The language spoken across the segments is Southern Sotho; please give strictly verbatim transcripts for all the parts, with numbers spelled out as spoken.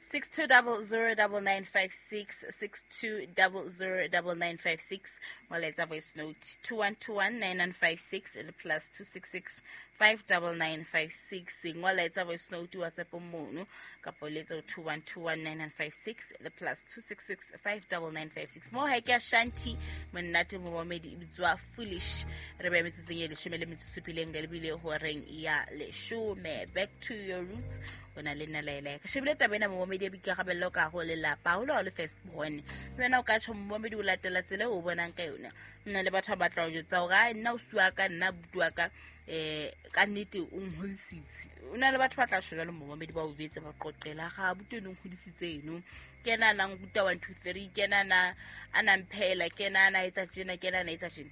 Six two double zero double nine five six six two double zero double nine five six. Molaetsa voice note two one two one nine nine five six le plus two six six five double nine five six. Molaetsa voice note WhatsApp mono kapa o letsa two one two one nine nine five six le plus two six six five double nine five six. Mo ha ke a Shanti monate momamedi e bitswa Foolish. Re ba metsotsong e leshome le metsotso supileng ka lebile horeng ya leshome. Back to your roots. O na le nna Laela. Ke shebile taba ena momamedi ya boikarabello ka ho lelapa haholo ha o le first born. Le wena o ka tjho momamedi o latela tsela eo o bonang ka yona. Nna le batho ba batla ho jwetsa hore ai nna ausi wa ka nna abuti wa ka eh ka nnete o nhodisitse. O na le batho ba tla tjho jwalo momamedi ba o jwetse ba qoqela ga abuti eno o nhodisitse eno. Ke yena a nang ruta one two three, ke yena a na a nang phehela, ke yena a na etsa tjena, ke yena a na etsa tjena.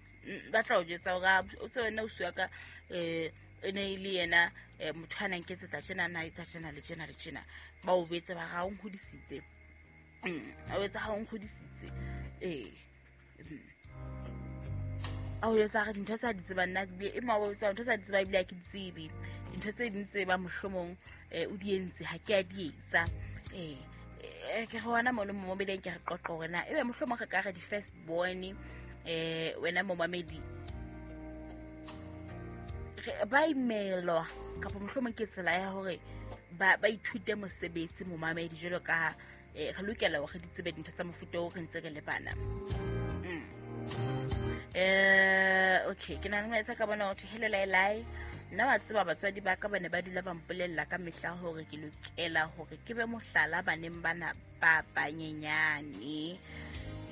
Ba tla o jwetsa hore o tsebe wena ausi wa ka eh e ne e le yena motho a nang nketsetsa tjena na etsa tjena le tjena le tjena. Ba o jwetse ba ga o nhodisitse. O etsa ha o nhodisitse. Eh. A o jwetsa re dintho tsa di tsebang nna e ma o jwetsa ntho tsa di tseba ebile ha ke di tsebe. Dintho tse ding tse ba mohlomong o di entse ha ke a di etsa. Eh ke re hona mono momamedi ke re qoqa hore na ebe mohlomong re ka re di first born eh wena momamedi ba imelwa kapa mohlomong ke tsela ya hore ba ba ithute mosebetsi momamedi jwalo ka re lokela hore di tsebe dintho tsa mofuta o re ntse re le bana. Eh okay ke na le molaetsa ka bona hore hello Laelai nna wa tseba batswadi ba ka ba ne ba dula ba mpolella ka mehla hore ke lokela hore ke be mohlala baneng bana ba banyenyane.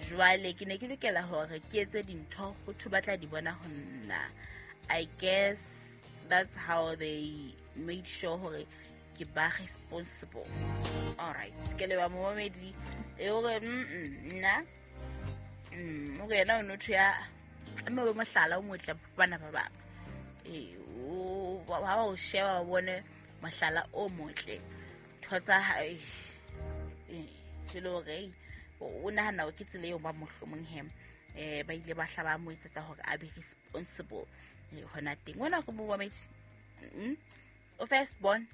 Jwale ke ne ke lokela hore ke etse dintho ho thwe ba tla di bona ho nna. I guess that's how they made sure hore ke ba responsible. All right ke le ba momamedi e hore nna mm o yena o notho ya mme bo mohlala o motle bana ba bang. Eh o ba o sheba ba bone mohlala o motle ntho tsa hae eh jelo re o nahana o ke tsela eo ba mohlomong hem eh ba ile ba hlaba mo etsetsa hore a be responsible hona teng. Wena go momamedi o first born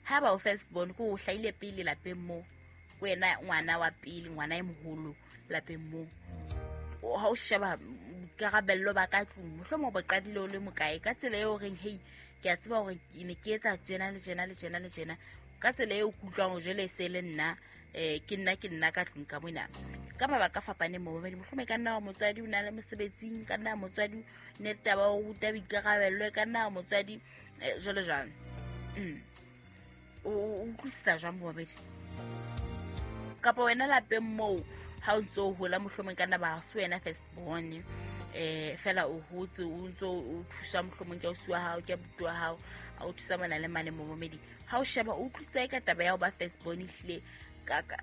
ha ba o first born ko o hlaile pele lapeng mo wena ngwana wa pele ngwana e moholo lapeng mo ha o sheba boikarabello ba ka tlung mohlomong bo qadile o le mokae ka tsela eo reng hey ke a tseba hore ke ne ke etsa tjena le tjena le tjena le tjena ka tsela eo kutlwang jwale se le nna eh ke nna ke nna ka tlung ka mona ka mabaka a fapaneng momamedi mohlomong ka nna wa motswadi o na le mosebetsing ka nna motswadi ne taba o ruta boikarabello ka nna motswadi jwalo jwalo. O utlwisisa jwang momamedi kapa wena lapeng moo ha o ntso o hola mohlomong ka nna ba se wena first born eh fela o hotse o ntso o thusa mohlomong ke ausi wa hao ke abuti wa hao a o thusa mona le mane momamedi ha o sheba o utlwisisa ka taba ya ho ba first born ehlile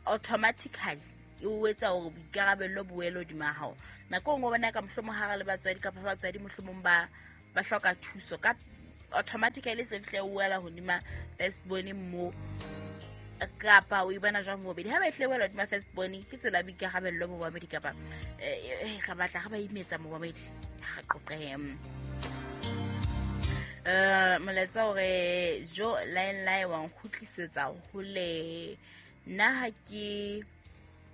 automatically e o etsa hore boikarabello bo wele hodima hao. Nako e nngwe o bona ka mohlomong ha re le batswadi kapa batswadi mohlomong ba ba hloka thuso ka automatically se fihle o wela hodima first born mo kapa o e bona jwang momamedi ha ba ehle wela hodima first born ke tsela ya boikarabello momamedi kapa eh re batla re ba imetsa momamedi ha re qoqe. Eh molaetsa hore jo line line wa nkgutlisetsa hole nna ha ke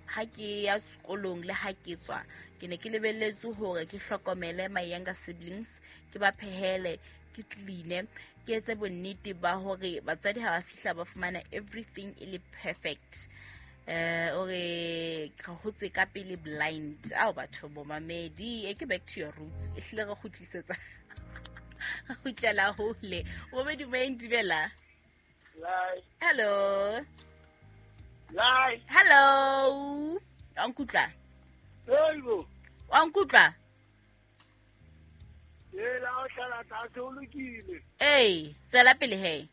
ha ke ya sekolong le ha ke tswa ke ne ke lebelletse hore ke hlokomele my younger siblings ke ba phehele ke clean ke etse bonnete ba hore batswadi ha ba fihla ba fumana everything e le perfect. Eh ore ka hotse ka pele blind ao batho bomamedi e ke back to your roots e hlile re kgutlisetsa re kgutlela hole momedi moentibela. Hello. Lai. Hello. Wa nkutlwa? Hello. Wa nkutlwa? Ee, la o hlala tlase o lokile. Ee, tswela pele he.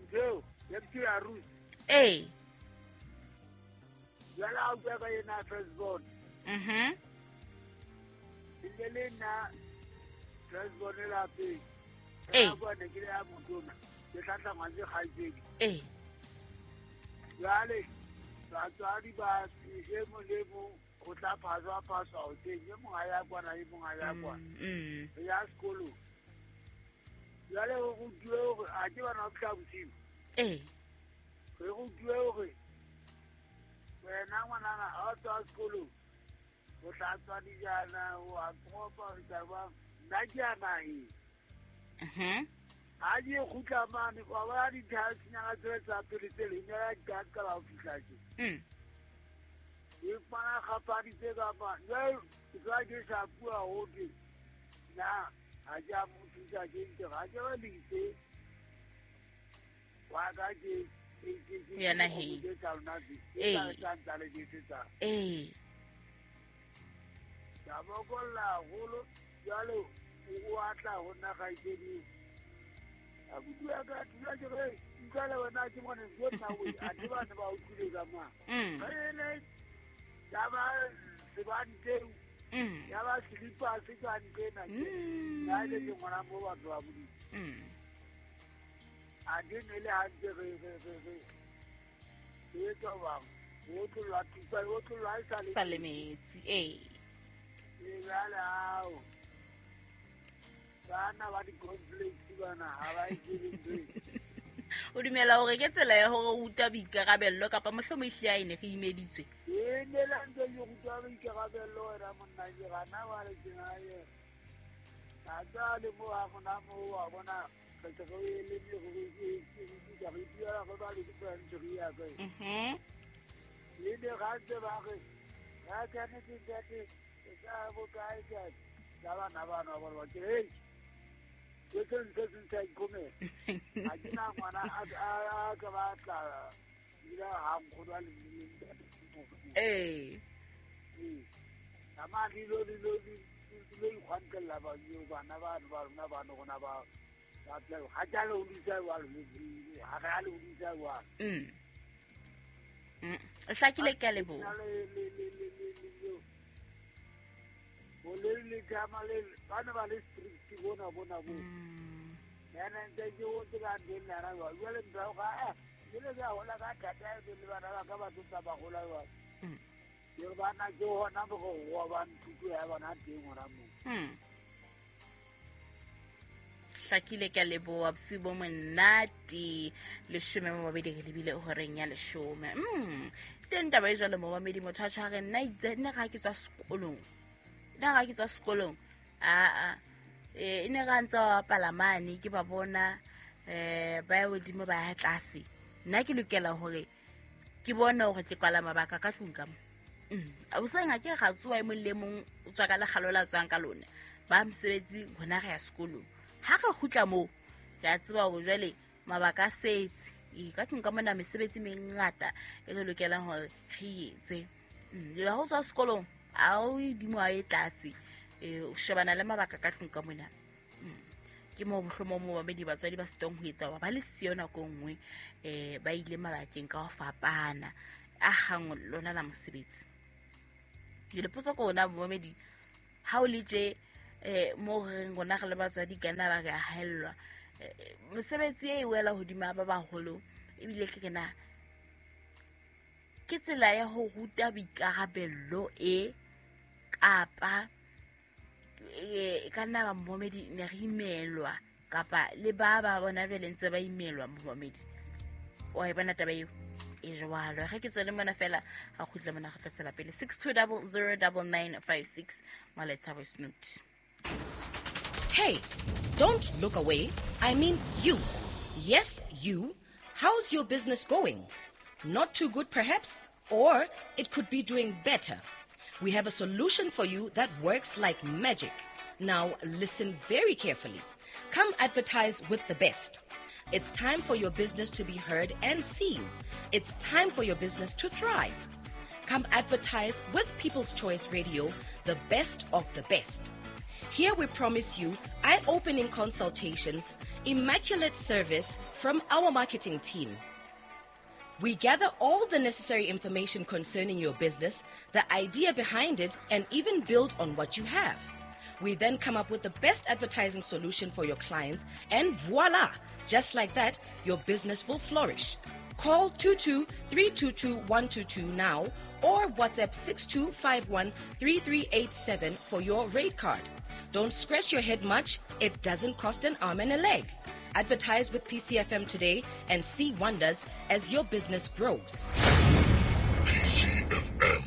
Ntho ya ke ya roots. Ee. Jwale ha o bua ka yena first born. Mhm. Le le nna first born lapeng. Ee. Ka bona ke le ya motona. Ke hlahlangwa ke kgaitsedi. Ee. Jwale batswadi ba e mong le mong o tla phaswa phaswa hoseng, e mong ha ya kwana, e mong ha ya kwana. Mm. Re ya sekolong. Jwale ho rutuwe hore ha ke bana ba fihla bosiu. Ee. Re rutuwe hore wena ngwanana ha o tswa sekolong o tla tswa dijana wa kopa re tla ba nna ke ya naheng. Mhm. Ha ke kgutla mane wa bona dithasenyana tsele tsa pele tse leng ya di ka qala ho fihla tje. Mm. Ke fumana kgapaditse ka mane. Jwale ke tloha ke shapuwa ho thwe nna ha ke a mo thusa ke ntse ha ke ba lise wa ka ke Ho ya naheng. Ee. Ee. Ka bokolla haholo jwale o a tla ho nna kgaitsedi. Abuti wa ka dula ke re utlwa le wena ke mone ke nna o a ba ne ba utlwile ka mang. Mm. Re ya ba sebante Mm. ya ba slippers ka ntlena ke. Mm. Ya le ke ngwana mo batho ba Modimo. Mm. A di ne le hantle re re re re. Re tswa ba o tlola thupa o tlola e sa le Sa le metsi, ee. E jwale hao. Bana ba di-complex bana ha ba e tsebe ntho e. O dumela hore ke tsela ya hore o utlwa boikarabello kapa mohlomong ehlile ha e ne re imeditswe? E ne le ntse ke rutwa boikarabello wena monna ke gana wa le tjena ye. Ka tswa le mo ha gona mo wa bona re se re le le re re ke re dira go ba le di-branch re ya kae. Mhm. Le ne ga ntse ba re ga ke ne ke ntate e ka bo kae kae. Ka bana bana ba ba ke hey. Ke se ntse se ntse ikomela. Ha ke na ngwana a a ka batla ila ha nkgono a le ntate. Ee. Ee. Ka ma dilo dilo dilo ikgwantlela ba yo bana ba ba rona ba no rona ba ba tla ha ke le hodisa jwalo ha re a le hodisa jwalo. Mm. Mm. O hlakile ke a leboha. Le le le le le le le. Bo le le tama le ba ne ba le strict bona bona bo. Mm. Yena ntse ke o tse ka ndeng la ra jwalo. Jwale ntho ga eh le le ka hola ka thata e le bana ba ka ba tsa ba hola jwalo. Mm. Ke bana ke hona bo go wa ba nthuto ya bona teng hona moo. Mm. Hlakile ke a leboha bosiu bo monate leshome mo mabedi re lebile horeng ya leshome. Mm. Teng taba e jwalo momamedi motho a tjho a re nna itse nna ga ke tswa sekolong. Nna ga ke tswa sekolong. A a e ne ga ntse ba bapala mane ke ba bona eh ba ya hodimo ba ya tlase. Nna ke lokela hore ke bone hore ke kwala mabaka ka tlung ka mo. Mm. Hoseng ha ke ga tsoha e mong le mong o tswa ka lekgalo la tswang ka lona. Ba mosebetsi rona re ya sekolong. Ha re kgutla moo ke a tseba hore jwale mabaka a setse. E ka tlung ka mona mesebetsi e mengata e re lokelang hore re etse. Mm. Le ha o tswa sekolong ha o hodimo ha o ye tlase. E o shebana le mabaka ka tlung ka mona. Mm. Ke moo mohlomong mo babedi batswadi ba sitong ho etsa hore ba le siyo nako e nngwe eh ba ile mabakeng ka ho fapana a kgang lona la mosebetsi. Ke lepotso ko ona momedi ha o le tje eh mo re reng rona re le batswadi ka nna ba re a haellwa mosebetsi e wela hodima ba baholo ebile ke kena ke tsela ya ho ruta boikarabello e kapa e ka nna ba momedi ne re imelwa kapa le ba ba bona bele ntse ba imelwa momedi wa e bona taba eo e jwalo ge ke tswele mona fela ha kgutla mona re tla tswela pele six two zero zero nine nine five six molaetsa voice note. Hey, don't look away. I mean you. Yes, you. How's your business going? Not too good, perhaps? Or it could be doing better. We have a solution for you that works like magic. Now, listen very carefully. Come advertise with the best. It's time for your business to be heard and seen. It's time for your business to thrive. Come advertise with People's Choice Radio, the best of the best. Here we promise you eye-opening consultations, immaculate service from our marketing team. We gather all the necessary information concerning your business, the idea behind it, and even build on what you have. We then come up with the best advertising solution for your clients, and voila! Just like that, your business will flourish. Call two two three two two one two two now or WhatsApp six two five one three three eight seven for your rate card. Don't scratch your head much. It doesn't cost an arm and a leg. Advertise with P C F M today and see wonders as your business grows. P C F M,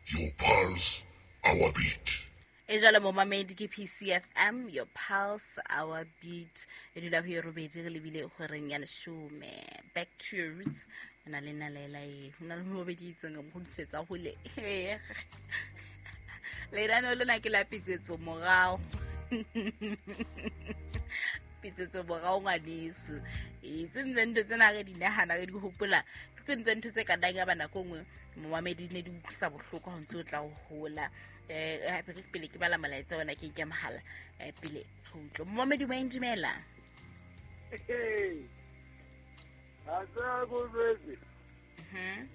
your pulse, our beat. E jalo momamedi ke P C F M, your pulse, our beat. E dula ho e robedi re lebile horeng ya leshome. Back to your roots. Na le na le la e. Ho na le momamedi itseng mo kgutlisetsa hole. Lenaneo lena ke la pitsetso morao. Pitsetso morao ngwaneso. E tse ntse ntho tsena re di nahana re di hopola. Ke tse ntse ntho tse ka dang ya ba nako nngwe momamedi ne di utlwisa bohloko ha ntse o tla ho hola. Eh hape ke pele ke bala molaetsa ona ke nke mohala eh pele re utlwe. Momamedi wa indumela. Eh. A tsa go jwetse. Mhm.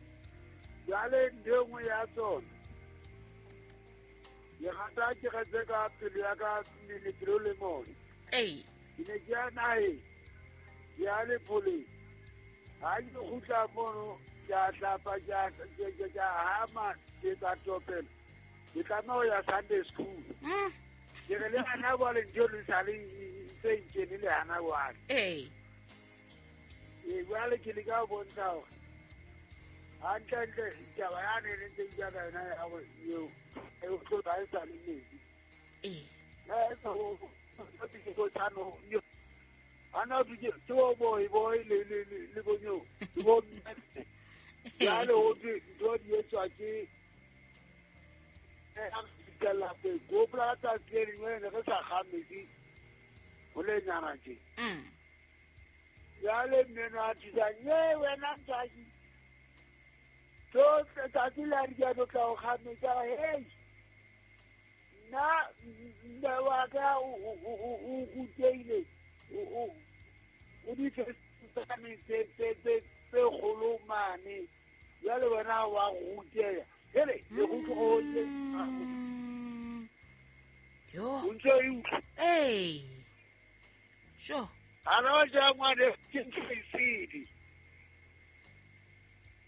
Jwale ntho nngwe ya tsona. Ke rata ke retse ka pelo ya ka mmele pelo le moya. Ee. Ke ne ke ya naheng, ke ya lepoleng. Ha ke kgutla mono, ke a hlapa, ke a, ke, ke, ke a hama, ke tsa topela. Ke tlameha ho ya Sunday school. Mm. Ke re le hana jwale ntho le sa le ntse nkene le hana jwale. Ee. Ee, jwale ke leka ho bontsha hore hantlentle taba yane e ntse ke bua ka yona ya hore eo, e o tlo ba e sa le metsi. Ee. Eh, so, ke go tsano, yo. Ana ke ke bo boy boy le le le le bonyo. Ke bo mme. Jwale ho thwe ntho di etswa ke eh a ke lapeng. Ke hopola ka tsatsi le lengwe ne re sa kga metsi ho le nyana tje. Mm. Jwale mme no a thusa, "Nye wena ntsaki." Tsohle tsatsi la re ke tla ho kga metsi, a re, "Hey, nna mme wa ka o, o, o, o, o rutehile, o, o, o di fetane tse, tse, tse, tse kgolo mane. Jwale wena wa ruteha." Hele, ke utlwe ho tje. Mm. Yo. O ntse o e utlwa? Ee. Sure. Hana wa ja ngwane ke ntho e sedi.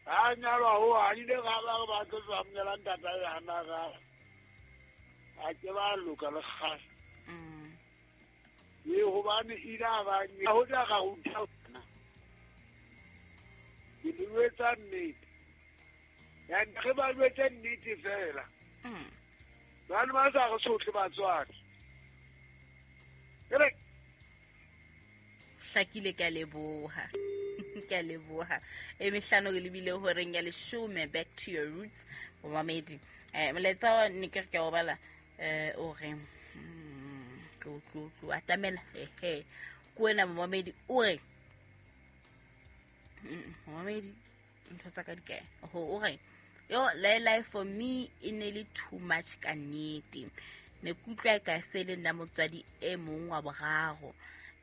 Ha nyalwa ho, ha ile ga ba ba tlo tswa mnyala ntata ya hana ga. Ha ke ba loka le kgale. Mm. E hobane ile a ba nya, ho tla ga ruta bana. Ke le jwetsa nnete. Ya re ba jwetse nnete fela. Mm. Bana ba sa re sotle batswadi. Ke re hlakile, ke a leboha. Ke a leboha. E mehlano re lebile horeng ya leshome, back to your roots, momamedi. Eh molaetsa wa ne ke re ke a o bala, eh o re, mm, tlo, tlo, tlo, atamela, ehe. Ke wena momamedi, o re, mm, momamedi, ntho tsa ka di kae? Oho, o re, yo, le life for me e ne le too much ka nnete. Ne ke utlwa e ka se le nna motswadi e mong wa boraro.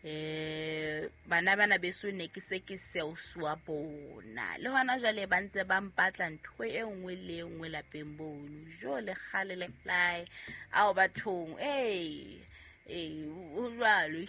Eh, bana bana beso ne ke se ke seosi wa bona. Le hona jwale ba ntse ba mpatla ntho e nngwe le e nngwe lapeng bono. Jo le kgale le lae. Ao bathong, eh, eh, ho jwalo